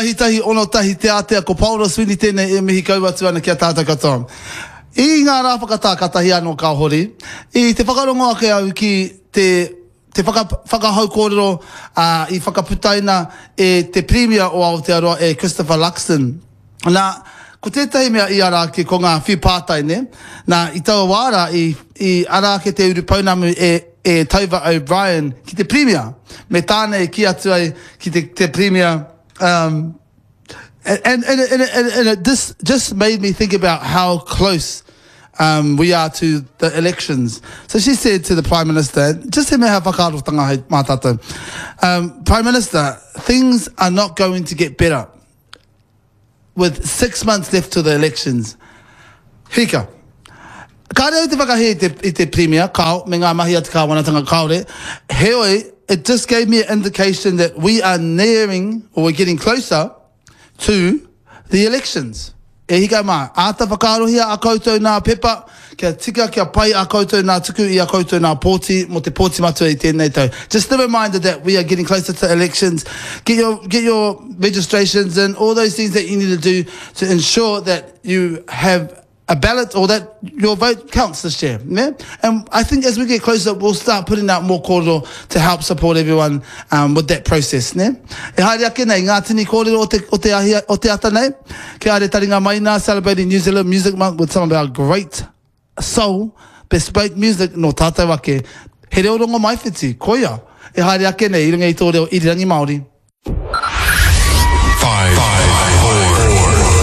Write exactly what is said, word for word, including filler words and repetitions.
Tahi tahi ono tahi te ātea ko Paora Sweeney tēnei e mihi kau atu ana ki a tātou katoa. I ngā rā whakatā katahi anō ka hori, i te whakarongo ake au ki te te whaka, whakahau kōrero uh, i whakaputaina e te Pirimia o Aotearoa e Christopher Luxon. Nā, ko tētahi mea i ara ake ko ngā whiu pātai, ne? Nā, i taua wā rā, i, i ara ake te urupounamu e, e Tauva O'Brien ki te Pirimia. Me tāna e kī atu ai ki te, te Pirimia, um, and, and, and, and, and, and it this just made me think about how close um, we are to the elections. So she said to the Prime Minister, just he mea whakaarotanga hei mā tātou. Um, Prime Minister, things are not going to get better with six months left to the elections. Hika. Kāre au te whakahē i te, i te Premier, kao, me ngā mahi a te kāwanatanga kāore. Heoi, it just gave me an indication that we are nearing, or we're getting closer to the elections. E hika mā, āta whakaarohia a koutou nā pepa, kia tika, kia pai a koutou nā tuku i a koutou nā pōti, mō te pōti matua i tēnei tau. Just a reminder that we are getting closer to elections. Get your, get your registrations and all those things that you need to do to ensure that you have a ballot or that your vote counts this year. Yeah? And I think as we get closer, we'll start putting out more kōrero to help support everyone um, with that process. Ne? E haere ake nei, ngā tini kōrero o te, o te, ahi, o te ata nei. Kia haere taringa mai nā, celebrating New Zealand Music Month with some of our great soul, bespoke music nō tātou ake. He reo Rongomaiwhiti, koia. E haere ake nei, i runga i tō reo irirangi Māori.